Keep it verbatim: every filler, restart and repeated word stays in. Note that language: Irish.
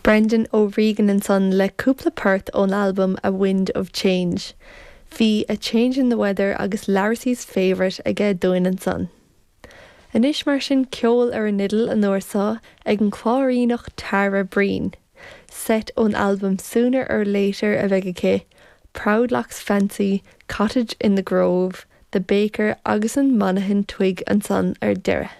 Brendan O'Regan ansan le cúpla port ón albam A Wind of Change. Bhí a Change in the Weather agus Larrissy's Favourite aige dúinn ansan. Anois mar sin ceol ar an fhidil an uair seo ag an Cláiríneach Tara Breen. Set ón albam Sooner or Later a bheidh aici, Proudlock's Fancy, Cottage in the Grove, The Baker agus an Monaghan Twig ansan ar deireadh.